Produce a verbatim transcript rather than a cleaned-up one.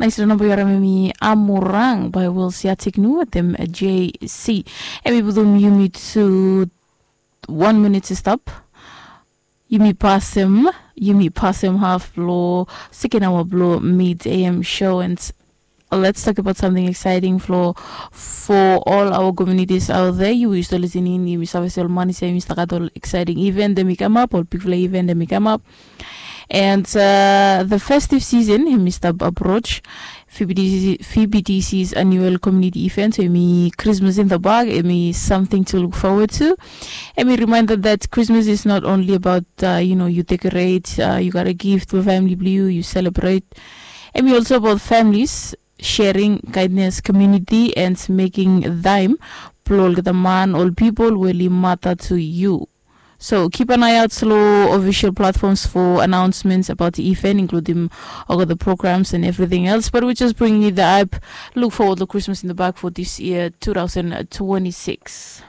Nais lo namba yu harim em i Amurang by Will Siatiknu wetem J C. Em i putum yumi tu one minute i stap. Yumi pasem, yumi pasem half blo second hour blo mid A M show, and let's talk about something exciting for for all our communities out there. You used to listening, yumi save se ol manis ya yumi stap gat ol exciting event dem i come up, ol bigfala event dem i come up. And uh, the festive season hemi stap approach. F B D C, F B D C's annual community event, so hemi Christmas in the bag, hemi something to look forward to. Hemi reminder that Christmas is not only about uh, you know, you decorate, uh, you got a gift for family blue, you celebrate. Hemi also about families sharing kindness, community, and making time blo olgeta man, ol pipol we oli mata to you. So keep an eye out lo official platforms for announcements about the event, including all the programs and everything else. But we're just bringing you the hype. Look forward to Christmas in the bag for this year, two thousand twenty-six.